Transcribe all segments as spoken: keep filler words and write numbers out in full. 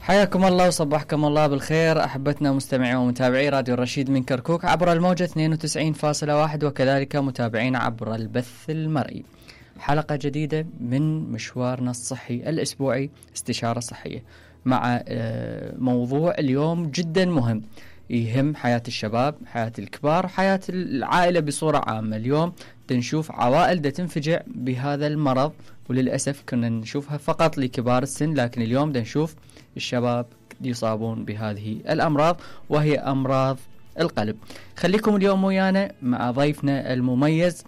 حياكم الله وصبحكم الله بالخير أحبتنا مستمعي ومتابعي راديو الرشيد من كركوك عبر الموجة اثنين وتسعين فاصلة واحد وكذلك متابعين عبر البث المرئي. حلقة جديدة من مشوارنا الصحي الأسبوعي استشارة صحية مع موضوع اليوم جدا مهم يهم حياة الشباب، حياة الكبار، حياة العائلة بصورة عامة. اليوم نشوف عوائل دا تنفجع بهذا المرض، وللأسف كنا نشوفها فقط لكبار السن، لكن اليوم دا نشوف الشباب يصابون بهذه الأمراض وهي أمراض القلب. خليكم اليوم ويانا مع ضيفنا المميز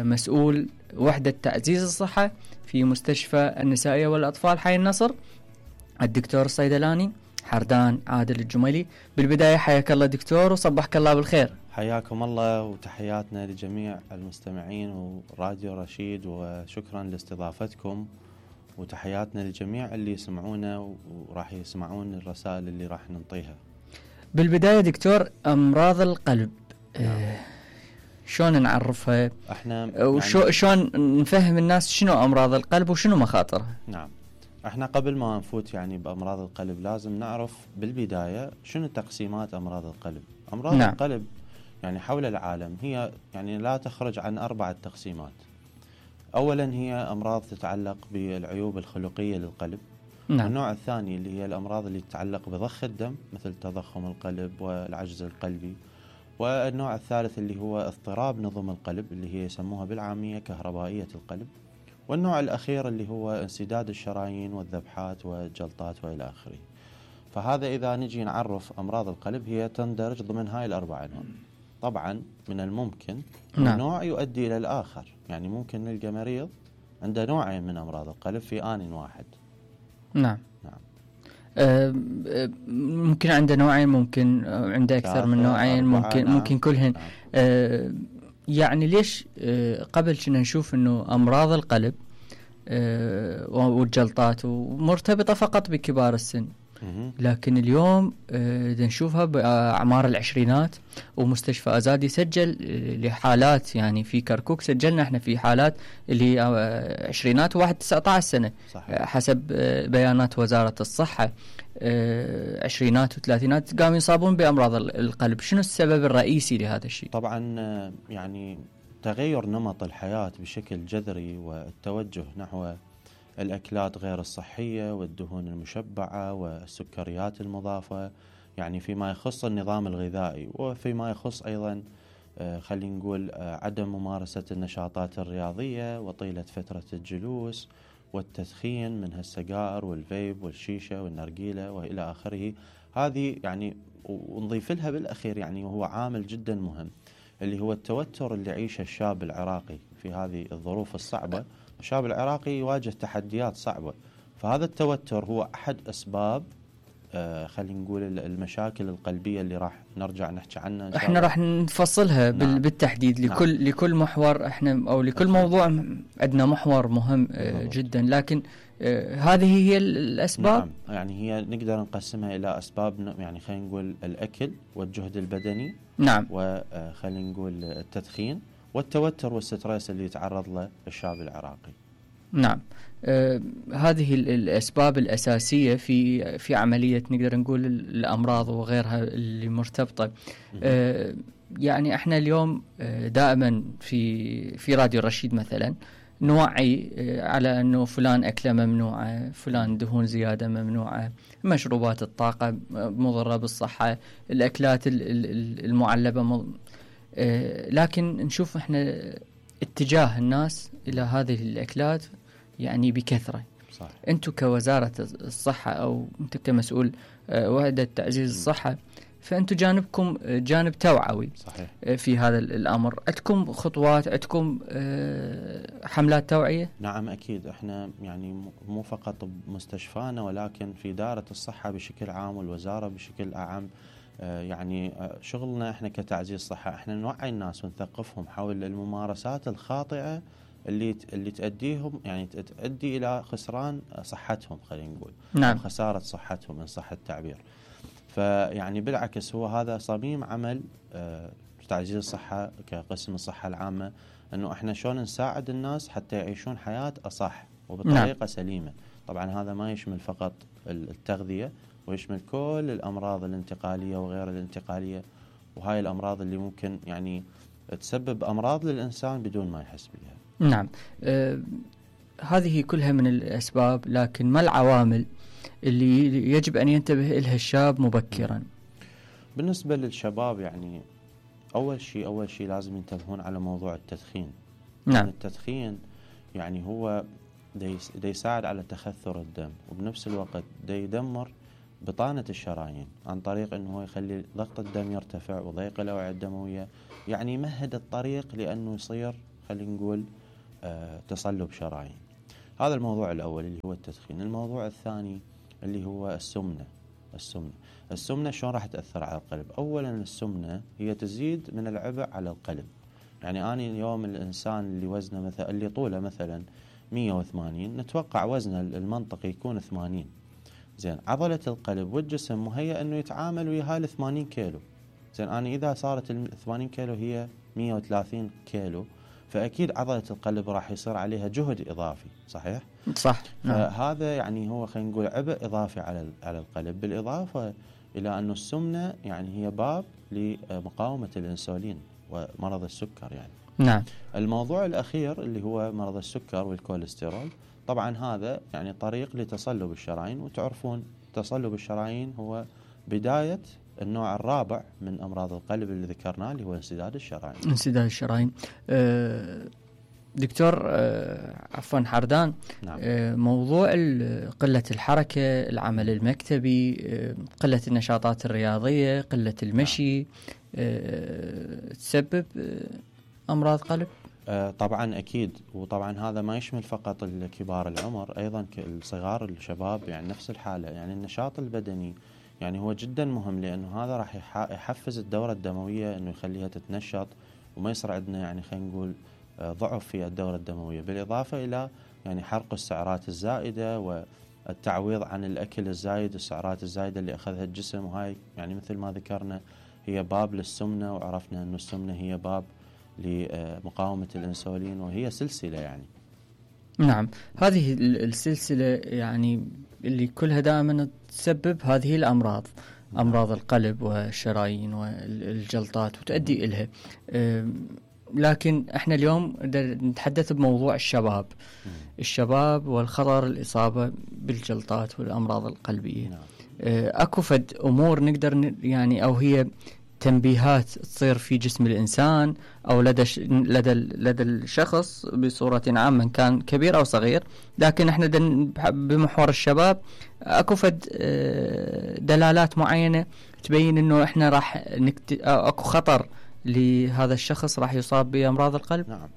مسؤول وحدة تعزيز الصحة في مستشفى النسائية والأطفال حي النصر، الدكتور الصيدلاني حردان عادل الجميلي. بالبداية حياك الله دكتور وصبحك الله بالخير. حياكم الله وتحياتنا لجميع المستمعين وراديو رشيد، وشكرا لاستضافتكم، وتحياتنا لجميع اللي يسمعونا وراح يسمعون الرسائل اللي راح ننطيها. بالبداية دكتور، أمراض القلب نعم. آه شلون نعرفها احنا وشو يعني شلون نفهم الناس شنو أمراض القلب وشنو مخاطرها؟ نعم، احنا قبل ما نفوت يعني بأمراض القلب لازم نعرف بالبداية شنو تقسيمات أمراض القلب. أمراض نعم. القلب يعني حول العالم هي يعني لا تخرج عن أربعة تقسيمات. أولا هي أمراض تتعلق بالعيوب الخلقية للقلب. نعم. النوع الثاني اللي هي الأمراض اللي تتعلق بضخ الدم مثل تضخم القلب والعجز القلبي. والنوع الثالث اللي هو اضطراب نظم القلب اللي هي يسموها بالعامية كهربائية القلب. والنوع الأخير اللي هو انسداد الشرايين والذبحات والجلطات وإلى آخره. فهذا إذا نجي نعرف أمراض القلب هي تندرج ضمن هاي الأربعة أنواع. طبعا من الممكن نعم. نوع يؤدي إلى الآخر، يعني ممكن نلقى مريض عنده نوعين من أمراض القلب في آن واحد. نعم نعم أه ممكن عنده نوعين، ممكن عنده أكثر من نوعين، ممكن نعم. ممكن كلهن نعم. أه يعني ليش أه قبل كنا نشوف إنه أمراض القلب أه والجلطات مرتبطة فقط بكبار السن، لكن اليوم آه نشوفها بأعمار العشرينات. ومستشفى أزادي سجل لحالات، يعني في كركوك سجلنا احنا في حالات اللي آه عشرينات وواحد تسعة عشر سنة آه حسب آه بيانات وزارة الصحة. آه عشرينات وثلاثينات قاموا يصابون بأمراض القلب. شنو السبب الرئيسي لهذا الشيء؟ طبعا آه يعني تغير نمط الحياة بشكل جذري والتوجه نحو الأكلات غير الصحية والدهون المشبعة والسكريات المضافة، يعني فيما يخص النظام الغذائي، وفيما يخص أيضا خلينا نقول عدم ممارسة النشاطات الرياضية وطيلة فترة الجلوس والتدخين من السجائر والفيب والشيشة والنرجيلة وإلى آخره. هذه يعني ونضيف لها بالأخير يعني وهو عامل جدا مهم اللي هو التوتر اللي يعيشه الشاب العراقي في هذه الظروف الصعبة. الشاب العراقي يواجه تحديات صعبة، فهذا التوتر هو أحد أسباب آه خلينا نقول المشاكل القلبية اللي راح نرجع نحكي عنها إن شاء احنا الله. راح نفصلها نعم. بالتحديد لكل نعم. لكل محور احنا أو لكل أكيد. موضوع عندنا محور مهم آه جدا، لكن آه هذه هي الأسباب. نعم، يعني هي نقدر نقسمها إلى أسباب، يعني خلينا نقول الأكل والجهد البدني نعم، وخلينا نقول التدخين والتوتر والستريس اللي يتعرض له الشاب العراقي. نعم، آه هذه الأسباب الأساسية في في عملية نقدر نقول الأمراض وغيرها اللي مرتبطة. آه يعني احنا اليوم آه دائما في في راديو الرشيد مثلا نوعي آه على أنه فلان أكله ممنوعة، فلان دهون زيادة ممنوعة، مشروبات الطاقة مضرة بالصحة، الأكلات المعلبة مض... آه لكن نشوف احنا اتجاه الناس إلى هذه الأكلات يعني بكثرة. صح. أنتم كوزارة الصحة أو أنت كمسؤول آه وحدة تعزيز الصحة، فأنتم جانبكم جانب توعوي. صحيح. آه في هذا الأمر عندكم خطوات، عندكم آه حملات توعية؟ نعم أكيد، احنا يعني مو فقط بمستشفانا ولكن في دائرة الصحة بشكل عام والوزارة بشكل أعم. آه يعني آه شغلنا احنا كتعزيز صحة احنا نوعي الناس ونثقفهم حول الممارسات الخاطئة اللي اللي تؤديهم يعني تؤدي الى خسران صحتهم، خلينا نقول نعم. خسارة صحتهم ان صح التعبير. فيعني بالعكس هو هذا صميم عمل آه تعزيز الصحة كقسم الصحة العامة، انه احنا شلون نساعد الناس حتى يعيشون حياة اصح وبطريقة نعم. سليمة. طبعا هذا ما يشمل فقط التغذية، ويشمل كل الأمراض الانتقالية وغير الانتقالية، وهاي الأمراض اللي ممكن يعني تسبب أمراض للإنسان بدون ما يحس بها. نعم. آه هذه كلها من الأسباب، لكن ما العوامل اللي يجب أن ينتبه إلها الشاب مبكرا؟ بالنسبة للشباب يعني أول شيء أول شيء لازم ينتبهون على موضوع التدخين. نعم. يعني التدخين يعني هو دا يساعد على تخثر الدم، وبنفس الوقت دا يدمر بطانة الشرايين عن طريق أنه يخلي ضغط الدم يرتفع وضيق الأوعية الدموية، يعني يمهد الطريق لأنه يصير خلينا نقول آه تصلب شرايين. هذا الموضوع الأول اللي هو التدخين. الموضوع الثاني اللي هو السمنة. السمنة السمنة شلون راح تأثر على القلب؟ أولا السمنة هي تزيد من العبء على القلب. يعني أنا اليوم الإنسان اللي وزنه مثلا اللي طوله مثلا مية وثمانين، نتوقع وزنه المنطقي يكون ثمانين. زين، عضلة القلب والجسم مهيأ أنه يتعامل ويا هاي ثمانين كيلو. زين، أنا إذا صارت ثمانين كيلو هي مية وثلاثين كيلو، فأكيد عضلة القلب راح يصير عليها جهد إضافي. صحيح؟ صح. فهذا يعني هو خلينا نقول عبء إضافي على على القلب، بالإضافة إلى أنه السمنة يعني هي باب لمقاومة الأنسولين ومرض السكر يعني. نعم. الموضوع الأخير اللي هو مرض السكر والكوليسترول، طبعا هذا يعني طريق لتصلب الشرايين، وتعرفون تصلب الشرايين هو بداية النوع الرابع من أمراض القلب اللي ذكرناه اللي هو انسداد الشرايين. انسداد الشرايين. أه دكتور أه عفوا حردان. نعم. أه موضوع قلة الحركة، العمل المكتبي، أه قلة النشاطات الرياضية، قلة المشي، نعم. أه تسبب أه أمراض قلب؟ أه طبعا أكيد، وطبعا هذا ما يشمل فقط الكبار العمر، أيضا الصغار الشباب يعني نفس الحالة. يعني النشاط البدني يعني هو جدا مهم، لأنه هذا راح يحفز الدورة الدموية أنه يخليها تتنشط، وما يصير عندنا يعني خلينا نقول ضعف في الدورة الدموية، بالإضافة إلى يعني حرق السعرات الزائدة والتعويض عن الأكل الزايد، السعرات الزايدة اللي أخذها الجسم. وهاي يعني مثل ما ذكرنا هي باب للسمنة، وعرفنا أنه السمنة هي باب لمقاومة الأنسولين، وهي سلسلة يعني. نعم، هذه السلسلة يعني اللي كلها دائما تسبب هذه الأمراض، أمراض القلب والشرايين والجلطات وتؤدي إليها. لكن احنا اليوم نتحدث بموضوع الشباب. الشباب والخطر الإصابة بالجلطات والأمراض القلبية. اكو فد أمور نقدر يعني، أو هي تنبيهات تصير في جسم الإنسان أو لدى ش... لدى لدى الشخص بصورة عامة، كان كبير أو صغير، لكن احنا دن... بمحور الشباب اكو فد دلالات معينة تبين انه احنا راح نكت... اكو خطر لهذا الشخص راح يصاب بأمراض القلب. نعم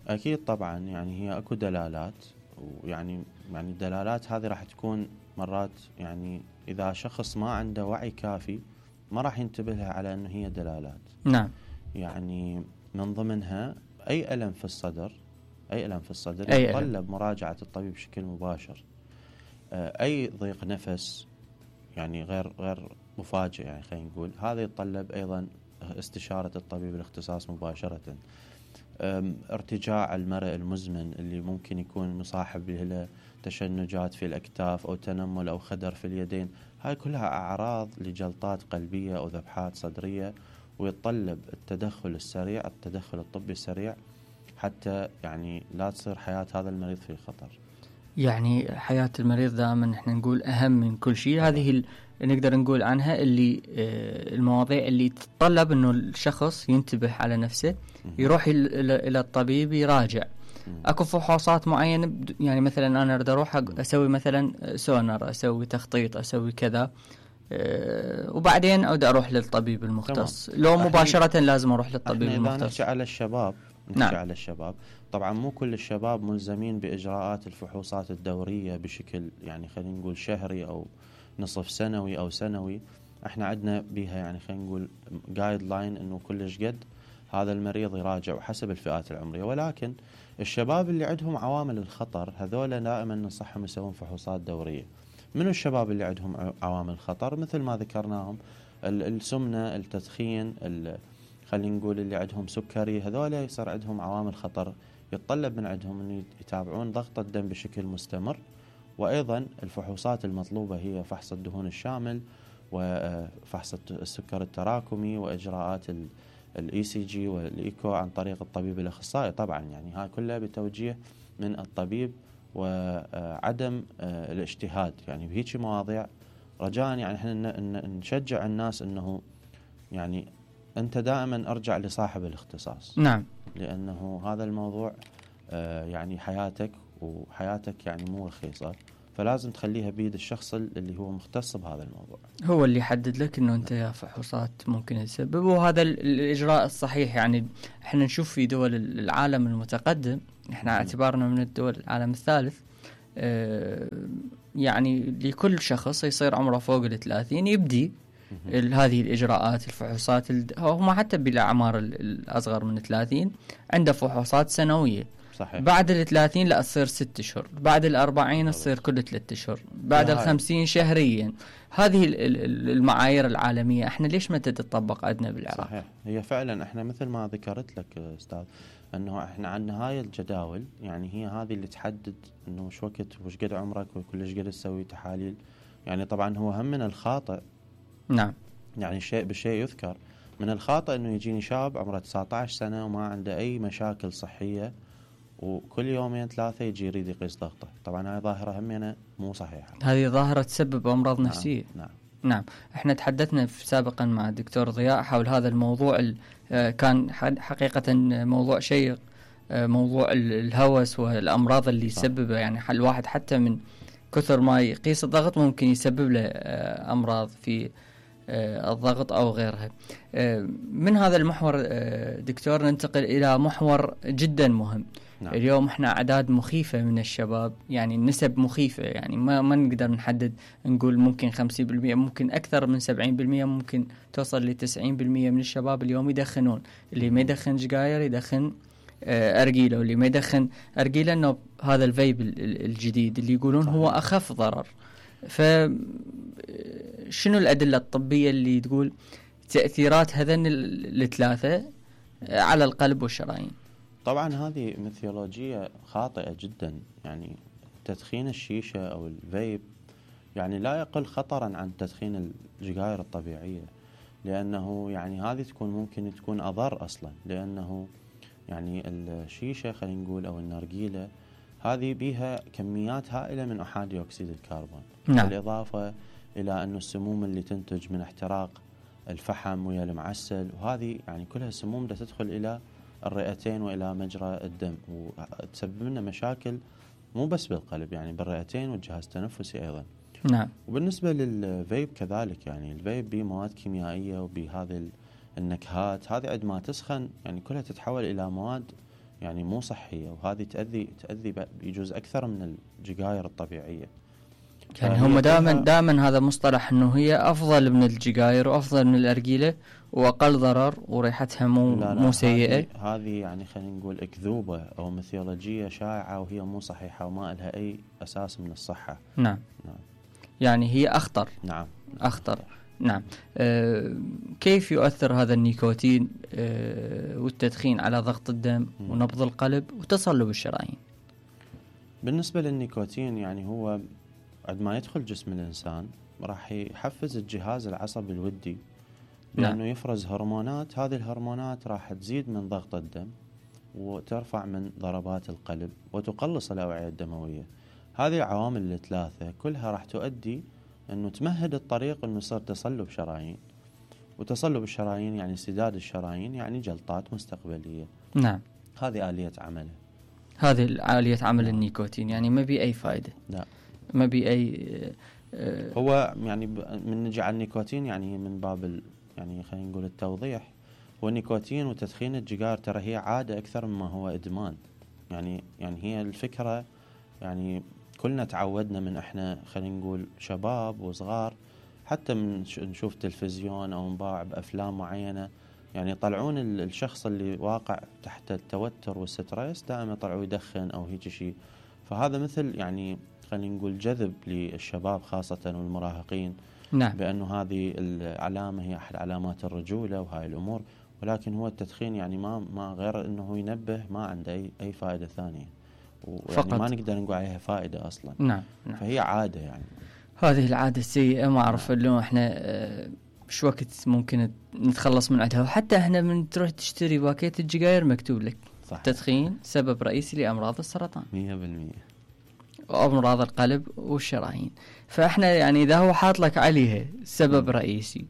أكيد طبعا، يعني هي اكو دلالات، ويعني يعني الدلالات هذه راح تكون مرات يعني إذا شخص ما عنده وعي كافي ما راح ينتبه لها على أنه هي دلالات. نعم. يعني من ضمنها أي ألم في الصدر، أي ألم في الصدر أي يتطلب ألم. مراجعة الطبيب بشكل مباشر. أي ضيق نفس يعني غير غير مفاجئ يعني خلينا نقول، هذا يتطلب أيضا استشارة الطبيب الاختصاص مباشرة. ارتجاع المرء المزمن اللي ممكن يكون مصاحب له تشنجات في الأكتاف أو تنمل أو خدر في اليدين، هاي كلها أعراض لجلطات قلبية أو ذبحات صدرية، ويتطلب التدخل السريع، التدخل الطبي السريع، حتى يعني لا تصير حياة هذا المريض في خطر. يعني حياة المريض دائما نحن نقول أهم من كل شيء. هذه ال... نقدر نقول عنها اللي آه المواضيع اللي تتطلب إنه الشخص ينتبه على نفسه، يروح إلى الطبيب يراجع. اكو فحوصات معينه، يعني مثلا انا اريد اروح اسوي مثلا سونر، اسوي تخطيط، اسوي كذا، أه وبعدين اعود اروح للطبيب المختص. تمام. لو مباشره لازم اروح للطبيب المختص. نحكي على الشباب، نحكي نعم. على الشباب طبعا مو كل الشباب ملزمين باجراءات الفحوصات الدوريه بشكل يعني خلينا نقول شهري او نصف سنوي او سنوي. احنا عندنا بيها يعني خلينا نقول جايد لاين انه كلش قد هذا المريض يراجع وحسب الفئات العمريه. ولكن الشباب اللي عندهم عوامل الخطر هذول دائما ننصحهم يسوون فحوصات دورية. منو الشباب اللي عندهم عوامل خطر؟ مثل ما ذكرناهم، السمنة، التدخين، خلينا نقول اللي عندهم سكري، هذول يصير عندهم عوامل خطر، يتطلب من عندهم أن يتابعون ضغط الدم بشكل مستمر، وأيضا الفحوصات المطلوبة هي فحص الدهون الشامل وفحص السكر التراكمي وإجراءات الاي سي جي والايكو عن طريق الطبيب الاخصائي طبعا، يعني هاي كلها بتوجيه من الطبيب وعدم الاجتهاد يعني بهيك مواضيع. رجاء يعني احنا نشجع الناس انه يعني انت دائما ارجع لصاحب الاختصاص. نعم. لانه هذا الموضوع يعني حياتك، وحياتك يعني مو رخيصة، فلازم تخليها بيد الشخص اللي هو مختص بهذا الموضوع، هو اللي يحدد لك انه انت يا فحوصات ممكن تسبب، وهذا الاجراء الصحيح. يعني احنا نشوف في دول العالم المتقدم، احنا اعتبارنا من الدول العالم الثالث، اه يعني لكل شخص يصير عمره فوق الثلاثين يبدي هذه الإجراءات الفحوصات. هم حتى بالأعمار الأصغر من ثلاثين عنده فحوصات سنوية. صحيح. بعد الثلاثين لا تصير ست أشهر، بعد الأربعين تصير كل ثلاثة أشهر، بعد الخمسين شهريا. هذه المعايير العالمية احنا ليش ما تتطبق عندنا بالعراق؟ صحيح. هي فعلا احنا مثل ما ذكرت لك أستاذ أنه احنا عندنا هاي الجداول، يعني هي هذه اللي تحدد أنه وش وقت وش قد عمرك وكلش قد تسوي تحاليل. يعني طبعا هو هم من الخاطئ، نعم، يعني شيء بالشيء يذكر، من الخاطئ أنه يجيني شاب عمره تسعة عشر سنة وما عنده أي مشاكل صحية، وكل يومين ثلاثة يجي يريد يقيس ضغطه. طبعا هاي ظاهرة همينة مو صحيحة، هذه ظاهرة تسبب أمراض نعم. نفسية. نعم نعم. احنا تحدثنا سابقا مع الدكتور ضياء حول هذا الموضوع، كان حقيقة موضوع شيق، موضوع الهوس والأمراض اللي يسببها. يعني الواحد حتى من كثر ما يقيس الضغط ممكن يسبب له أمراض في الضغط أو غيرها. من هذا المحور دكتور ننتقل إلى محور جدا مهم. نعم. اليوم احنا أعداد مخيفة من الشباب، يعني النسب مخيفة، يعني ما ما نقدر نحدد، نقول ممكن خمسين بالمئة، ممكن أكثر من سبعين بالمئة، ممكن توصل لتسعين بالمئة من الشباب اليوم يدخنون. اللي ما يدخن سجاير يدخن أرجيلة، واللي ما يدخن أرجيلة إنه هذا الفيب الجديد اللي يقولون هو أخف ضرر. فشنو الأدلة الطبية اللي تقول تأثيرات هذين الثلاثة على القلب والشرايين؟ طبعا هذه ميثولوجية خاطئة جدا. يعني تدخين الشيشة أو الفيب يعني لا يقل خطرا عن تدخين السجاير الطبيعية، لأنه يعني هذه تكون ممكن تكون أضر أصلا، لأنه يعني الشيشة خلينا نقول أو النرجيلة هذه بيها كميات هائلة من أحادي أكسيد الكربون. نعم. بالإضافة إلى أنه السموم اللي تنتج من احتراق الفحم ويا المعسل، وهذه يعني كلها سموم دا تدخل إلى الرئتين وإلى مجرى الدم، وتسبب لنا مشاكل مو بس بالقلب، يعني بالرئتين والجهاز التنفسي أيضا. نعم. وبالنسبة للفيب كذلك، يعني الفيب بيه مواد كيميائية وبهذه النكهات، هذه عندما ما تسخن يعني كلها تتحول إلى مواد يعني مو صحية، وهذه تأذي تأذي يجوز أكثر من السجاير الطبيعية. يعني هم دائما دائما هذا مصطلح انه هي افضل من السجاير وافضل من الارجيله واقل ضرر وريحتها مو لا لا مو سيئه. هذه يعني خلينا نقول اكذوبه او ميثولوجيه شائعه، وهي مو صحيحه وما لها اي اساس من الصحه. نعم. نعم. يعني هي اخطر. نعم. اخطر. نعم. أه كيف يؤثر هذا النيكوتين أه والتدخين على ضغط الدم م. ونبض القلب وتصلب الشرايين؟ بالنسبه للنيكوتين يعني هو عندما يدخل جسم الإنسان راح يحفز الجهاز العصبي الودي لأنه نعم. يفرز هرمونات، هذه الهرمونات راح تزيد من ضغط الدم وترفع من ضربات القلب وتقلص الأوعية الدموية. هذه العوامل الثلاثة كلها راح تؤدي أنه تمهد الطريق أنه يصير تصلب شرايين، وتصلب الشرايين يعني سداد الشرايين، يعني جلطات مستقبلية. نعم. هذه آلية عمله، هذه آلية عمل نعم. النيكوتين يعني ما بي أي فائدة. لا. ما بي أي آه هو يعني من نجي على النيكوتين يعني من باب يعني خلينا نقول التوضيح، هو النيكوتين وتدخين السجاير ترى هي عادة أكثر مما هو إدمان. يعني يعني هي الفكرة يعني كلنا تعودنا من إحنا خلينا نقول شباب وصغار، حتى من نشوف تلفزيون أو نباع بأفلام معينة، يعني يطلعون الشخص اللي واقع تحت التوتر والستريس دائما يطلعوا يدخن أو هيك شيء. فهذا مثل يعني خلينا نقول جذب للشباب خاصة والمراهقين. نعم. بأنه هذه العلامة هي أحد علامات الرجولة وهاي الأمور، ولكن هو التدخين يعني ما ما غير أنه ينبه، ما عنده أي أي فائدة ثانية. ويعني ما نقدر نقول عليها فائدة أصلا. نعم. نعم. فهي عادة يعني. هذه العادة السيئة ما أعرف إنه إحنا شو وقت ممكن نتخلص من عندها. وحتى إحنا من تروح تشتري باكيت السجاير مكتوب لك صح. التدخين سبب رئيسي لأمراض السرطان مية بالمية وأمراض القلب والشرايين. فإحنا يعني إذا هو حاط لك عليها سبب م. رئيسي،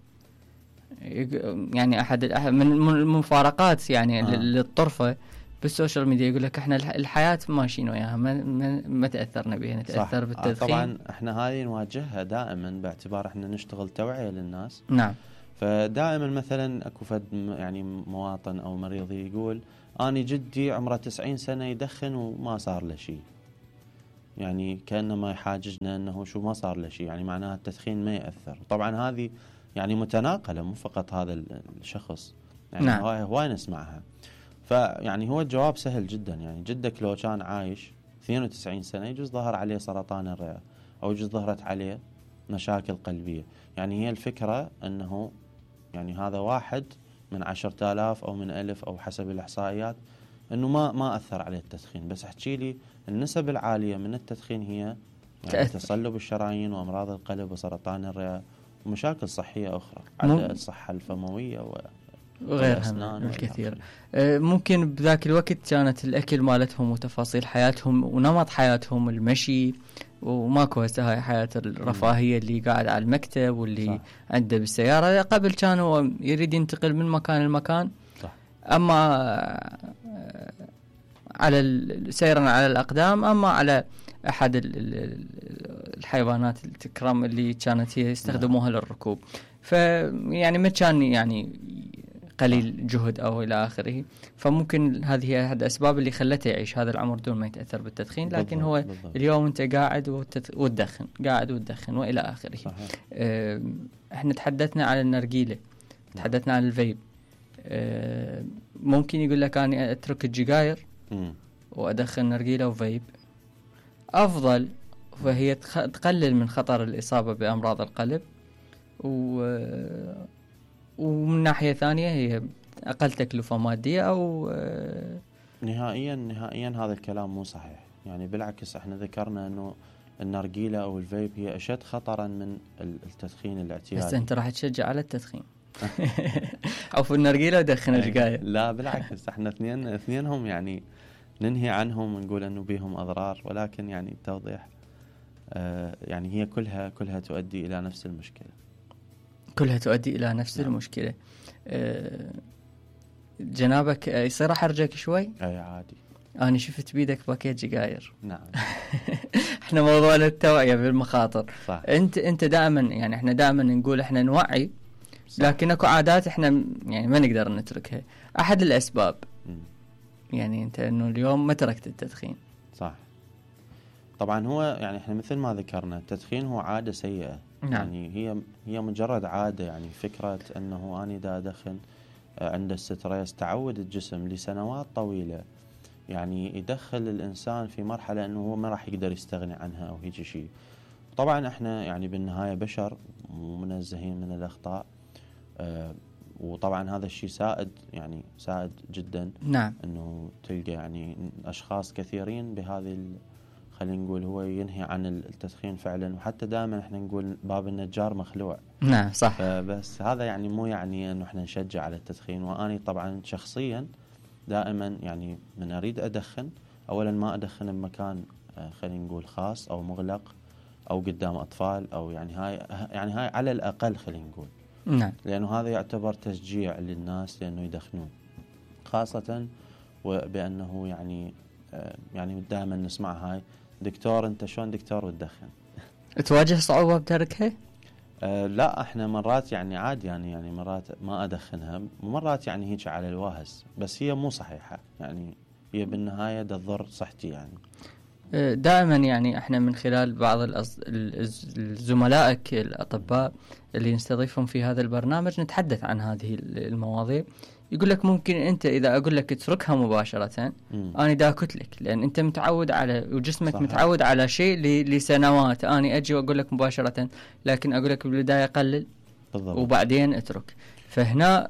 يعني أحد من المفارقات يعني آه. للطرفة بالسوشيال ميديا يقول لك احنا الحياة ماشيين وياها ما, ما, ما تأثرنا بها، نتأثر بالتدخين. طبعا احنا هاي نواجهها دائما باعتبار احنا نشتغل توعية للناس. نعم. فدائما مثلا اكو فد يعني مواطن او مريض يقول اني جدي عمره تسعين سنة يدخن وما صار له شيء، يعني كأنما يحاججنا انه شو ما صار له شيء، يعني معناها التدخين ما يأثر. طبعا هذه يعني متناقلة، مو فقط هذا الشخص، يعني نعم. هواي نسمعها. فيعني هو الجواب سهل جدا، يعني جدك لو كان عايش اثنين وتسعين سنة يجوز ظهر عليه سرطان الرئة أو يجوز ظهرت عليه مشاكل قلبية. يعني هي الفكرة أنه يعني هذا واحد من عشرة آلاف أو من ألف أو حسب الإحصائيات أنه ما ما أثر عليه التدخين. بس احكي لي النسب العالية من التدخين هي يعني تصلب الشرايين وأمراض القلب وسرطان الرئة ومشاكل صحية أخرى على الصحة الفموية و وغيرها الكثير. ممكن بذاك الوقت كانت الأكل مالتهم وتفاصيل حياتهم ونمط حياتهم المشي، وماكو هسه هاي حياة الرفاهية اللي قاعد على المكتب واللي صح. عنده بالسيارة. قبل كان هو يريد ينتقل من مكان لمكان صح. أما على سيرا على الأقدام، أما على أحد الحيوانات التكرام اللي كانت هي يستخدموها نعم. للركوب. فيعني ما كان يعني قليل جهد أو إلى آخره. فممكن هذه هي أحد الأسباب اللي خلته يعيش هذا العمر دون ما يتأثر بالتدخين. لكن بالضبط. هو بالضبط. اليوم أنت قاعد وتدخن قاعد وتدخن وإلى آخره. اه احنا تحدثنا عن النرجيلة، تحدثنا عن الفيب. اه ممكن يقول لك أنا أترك السجاير وأدخن نرجيلة وفيب أفضل، فهي تقلل من خطر الإصابة بأمراض القلب، و ومن ناحية ثانية هي أقل تكلفة مادية. أو نهائيا نهائيا هذا الكلام مو صحيح. يعني بالعكس احنا ذكرنا أنه النرجيلة أو الفيب هي أشد خطرا من التدخين الاعتيادي. بس أنت راح تشجع على التدخين أو في النرجيلة ودخن السجاير؟ لا بالعكس، احنا اثنين اثنينهم يعني ننهي عنهم ونقول أنه بيهم أضرار، ولكن يعني التوضيح آه يعني هي كلها كلها تؤدي إلى نفس المشكلة. كلها تؤدي إلى نفس نعم. المشكلة. أه جنابك يصير أحرجك شوي؟ أي عادي. أنا شفت بيدك باكيت سجاير. نعم. إحنا موضوعنا التوعية بالمخاطر. صح. أنت أنت دائما يعني إحنا دائما نقول إحنا نوعي، صح. لكن أكو عادات إحنا يعني ما نقدر نتركها. أحد الأسباب م. يعني أنت إنه اليوم ما تركت التدخين. صح. طبعا هو يعني إحنا مثل ما ذكرنا التدخين هو عادة سيئة. نعم. يعني هي هي مجرد عادة. يعني فكرة أنه أنا دا أدخن عند الستريس تعود الجسم لسنوات طويلة، يعني يدخل الإنسان في مرحلة أنه هو ما راح يقدر يستغني عنها أو هيك شيء. طبعا إحنا يعني بالنهاية بشر ومنزهين من الأخطاء، آه وطبعا هذا الشيء سائد يعني سائد جدا. نعم. أنه تلقى يعني أشخاص كثيرين بهذه خلينا نقول هو ينهي عن التدخين فعلا. وحتى دائما احنا نقول باب النجار مخلوع. نعم صح. بس هذا يعني مو يعني انه احنا نشجع على التدخين. واني طبعا شخصيا دائما يعني من اريد ادخن اولا ما ادخن بمكان خلينا نقول خاص او مغلق او قدام اطفال او يعني هاي يعني هاي على الاقل خلينا نقول. نعم. لانه هذا يعتبر تشجيع للناس لانه يدخنون، خاصة وبانه يعني يعني دائما نسمع هاي دكتور انت شلون دكتور وتدخن. تواجه صعوبة بتركها؟ أه لا احنا مرات يعني عادي يعني يعني مرات ما ادخنها، مرات يعني هيك على الواهس، بس هي مو صحيحة. يعني هي بالنهاية تضر صحتي. يعني دائما يعني احنا من خلال بعض الزملائك الأطباء اللي نستضيفهم في هذا البرنامج نتحدث عن هذه المواضيع. يقول لك ممكن انت اذا اقول لك اتركها مباشرة مم. انا داكت لك، لان انت متعود على وجسمك صحيح. متعود على شيء لسنوات. انا اجي واقول لك مباشرة، لكن اقول لك بالبداية قلل بالضبط. وبعدين اترك. فهنا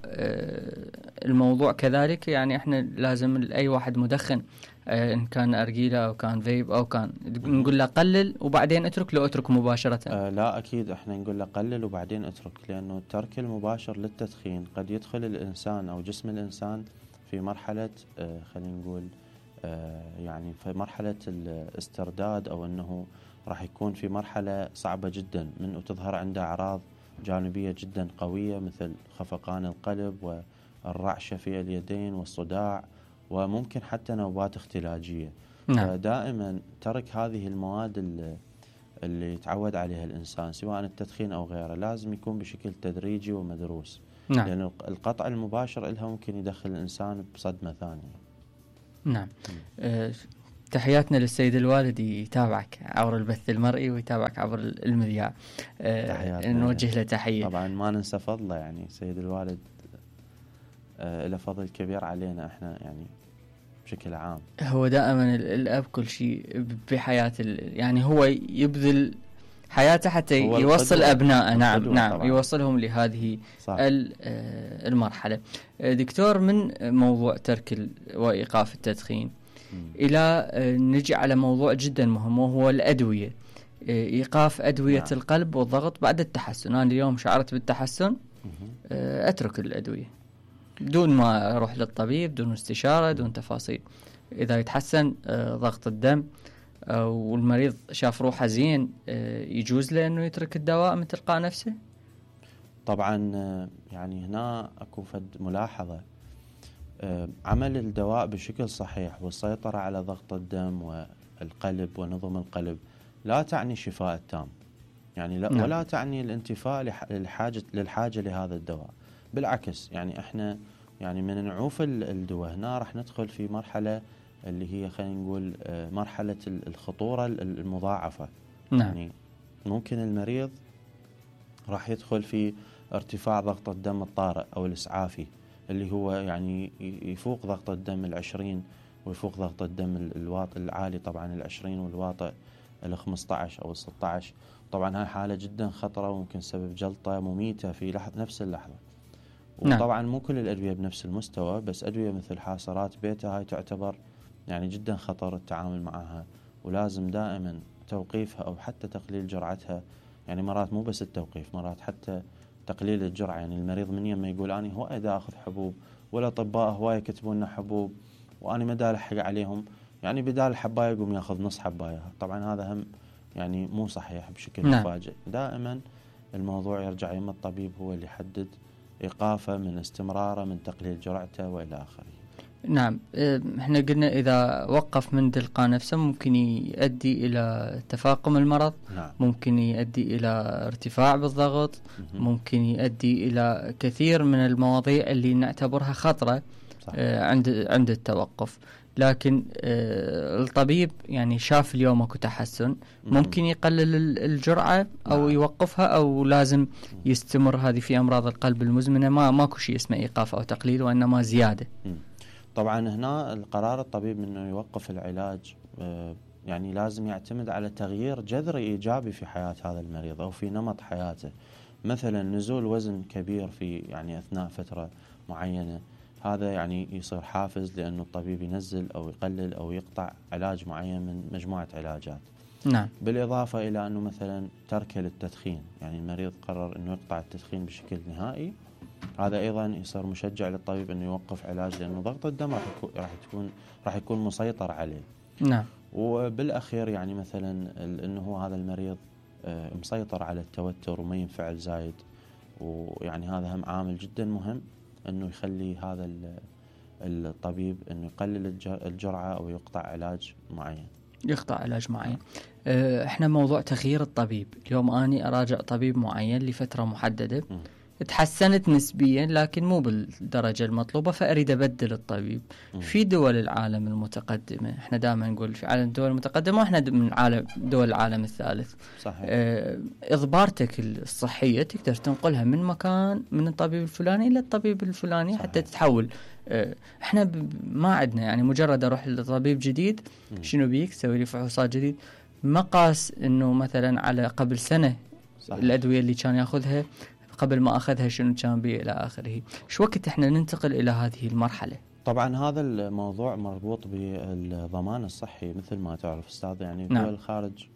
الموضوع كذلك يعني احنا لازم اي واحد مدخن آه إن كان أرجيلة أو كان فيب أو كان نقول له قلل وبعدين اترك، لو اترك مباشرة؟ آه لا أكيد إحنا نقول له قلل وبعدين اترك، لأنه الترك المباشر للتدخين قد يدخل الإنسان أو جسم الإنسان في مرحلة آه خلينا نقول آه يعني في مرحلة الاسترداد، أو أنه راح يكون في مرحلة صعبة جدا من وتظهر عنده أعراض جانبية جدا قوية مثل خفقان القلب والرعشة في اليدين والصداع، وممكن حتى نوبات اختلاجية. نعم. فدائما ترك هذه المواد اللي, اللي يتعود عليها الإنسان سواء التدخين أو غيره لازم يكون بشكل تدريجي ومدروس. نعم. لأن القطع المباشر إلها ممكن يدخل الإنسان بصدمة ثانية. نعم. أه تحياتنا للسيد الوالد يتابعك عبر البث المرئي ويتابعك عبر المذياع، أه نوجه له تحية. طبعا ما ننسى فضله، يعني سيد الوالد أه له فضل كبير علينا احنا يعني بشكل عام. هو دائما الأب كل شيء بحياة يعني هو يبذل حياته حتى يوصل أبنائه. نعم نعم طبعاً. يوصلهم لهذه صح. المرحلة. دكتور، من موضوع ترك وإيقاف التدخين م. إلى نجي على موضوع جدا مهم وهو الأدوية، إيقاف أدوية نعم. القلب والضغط بعد التحسن. أنا اليوم شعرت بالتحسن م. أترك الأدوية دون ما أروح للطبيب، دون استشارة، دون تفاصيل. إذا يتحسن ضغط الدم والمريض شاف روحه زين يجوز له أنه يترك الدواء من تلقاء نفسه؟ طبعا يعني هنا أكو فد ملاحظة، عمل الدواء بشكل صحيح والسيطرة على ضغط الدم والقلب ونظم القلب لا تعني شفاء التام، يعني لا نعم. ولا تعني الانتفاء للحاجة, للحاجة لهذا الدواء. بالعكس، يعني احنا يعني من نعوف الدواء هنا راح ندخل في مرحلة اللي هي خلينا نقول مرحلة الخطورة المضاعفة. نعم. يعني ممكن المريض راح يدخل في ارتفاع ضغط الدم الطارئ أو الإسعافي اللي هو يعني يفوق ضغط الدم العشرين ويفوق ضغط الدم الواطئ العالي طبعا العشرين والواطئ الخمسة عشر أو الستة عشر. طبعا هاي حالة جدا خطرة وممكن سبب جلطة مميتة في لحظة نفس اللحظة. وطبعا مو كل الأدوية بنفس المستوى، بس أدوية مثل حاسرات بيتا هاي تعتبر يعني جدا خطر التعامل معها، ولازم دائما توقيفها أو حتى تقليل جرعتها. يعني مرات مو بس التوقيف، مرات حتى تقليل الجرعة. يعني المريض من يوم ما يقول أنا هواي دا أخذ حبوب، والأطباء هواي يكتبون لنا حبوب وأنا ما دا ألحق عليهم، يعني بدال الحباية يقوم يأخذ نص حباية. طبعا هذا هم يعني مو صحيح بشكل نعم. مفاجئ. دائما الموضوع يرجع يم الطبيب هو اللي يحدد إيقافه من استمراره من تقليل جرعته وإلى آخره. نعم. احنا قلنا إذا وقف من تلقاء نفسه ممكن يؤدي إلى تفاقم المرض. نعم. ممكن يؤدي إلى ارتفاع بالضغط. مم. ممكن يؤدي إلى كثير من المواضيع اللي نعتبرها خطرة اه عند عند التوقف. لكن اه الطبيب يعني شاف اليوم اكو تحسن، ممكن يقلل الجرعة أو نعم. يوقفها، أو لازم يستمر. هذه في أمراض القلب المزمنة ما ماكو شيء اسمه إيقاف أو تقليل، وإنما زيادة. مم. طبعا هنا القرار الطبيب انه يوقف العلاج يعني لازم يعتمد على تغيير جذري ايجابي في حياة هذا المريض او في نمط حياته. مثلا نزول وزن كبير في يعني اثناء فترة معينة، هذا يعني يصير حافز لانه الطبيب ينزل او يقلل او يقطع علاج معين من مجموعة علاجات. نعم. بالاضافة الى انه مثلا تركه للتدخين، يعني المريض قرر انه يقطع التدخين بشكل نهائي، هذا ايضا يصير مشجع للطبيب انه يوقف علاج لانه ضغط الدم راح يكون راح يكون راح يكون مسيطر عليه. نعم. وبالاخير يعني مثلا انه هذا المريض مسيطر على التوتر وما ينفعل زايد، ويعني هذا هم عامل جدا مهم انه يخلي هذا الطبيب انه يقلل الجرعة او يقطع علاج معين. يقطع علاج معين. احنا موضوع تغيير الطبيب، اليوم اني اراجع طبيب معين لفترة محددة م. تحسنت نسبيا لكن مو بالدرجة المطلوبة، فأريد أبدل الطبيب. م. في دول العالم المتقدمة، احنا دائما نقول في عالم الدول المتقدمة واحنا من عالم دول العالم الثالث. صحيح. اه إضبارتك الصحية تقدر تنقلها من مكان من الطبيب الفلاني إلى الطبيب الفلاني. صحيح. حتى تتحول. اه احنا ما عندنا يعني مجرد أروح لطبيب جديد م. شنو بيك سوي لي فحوصات جديد، ما قاس إنه مثلا على قبل سنة. صحيح. الأدوية اللي كان يأخذها قبل ما أخذها شنو كان بيه إلى آخره. شو وقت إحنا ننتقل إلى هذه المرحلة؟ طبعا هذا الموضوع مربوط بالضمان الصحي مثل ما تعرف أستاذ. يعني دول نعم. الخارج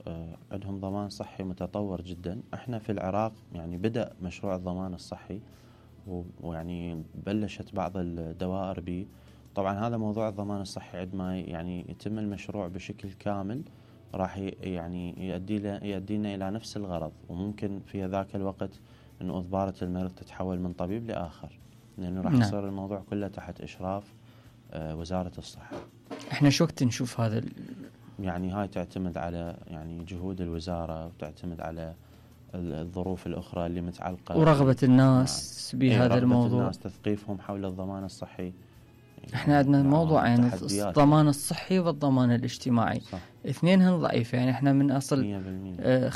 آه عندهم ضمان صحي متطور جدا. احنا في العراق يعني بدأ مشروع الضمان الصحي ويعني بلشت بعض الدوائر به. طبعا هذا موضوع الضمان الصحي عندما يعني يتم المشروع بشكل كامل راح يعني يؤدي يؤدينا إلى نفس الغرض، وممكن في ذاك الوقت أن إضبارة المريض تتحول من طبيب لآخر، لأنه راح نعم. يصير الموضوع كله تحت إشراف آه وزارة الصحة. احنا شو وقت نشوف هذا ال... يعني هاي تعتمد على يعني جهود الوزارة، وتعتمد على الظروف الأخرى اللي متعلقة ورغبة الناس بهذا رغبة الموضوع، الناس، تثقيفهم حول الضمان الصحي. احنا عندنا موضوع يعني تحديات. الضمان الصحي والضمان الاجتماعي، صح. اثنينهم ضعيف. يعني احنا من أصل مية بالمية